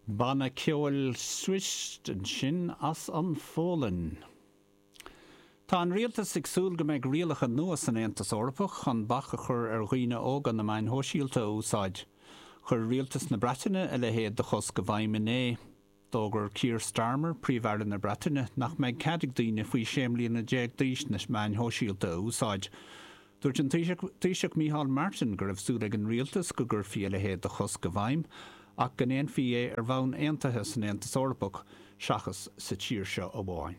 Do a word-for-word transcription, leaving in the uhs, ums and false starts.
Banna ceoil Swish ansin as an Pholainn. Tá an rialtas ag súil go mbeidh rialacha nua san Aontas Eorpach chun bac a chur ar dhaoine óga na meáin shóisialta a úsáid. Chuir rialtas na Breataine a leithéid de chosc i bhfeidhm inné. D'fhógair Keir Starmer, Príomh-Aire na Breataine, nach mbeidh cead ag daoine faoi sé mbliana déag d'aois na meáin shóisialta a úsáid. Dúirt an Taoiseach Micheál Martin go raibh súil ag an rialtas go gcuirfí a leithéid de chosc i bhfeidhm ach go ndéanfaí é ar bhonn aontaithe san Aontas Eorpach seachas sa tír seo amháin.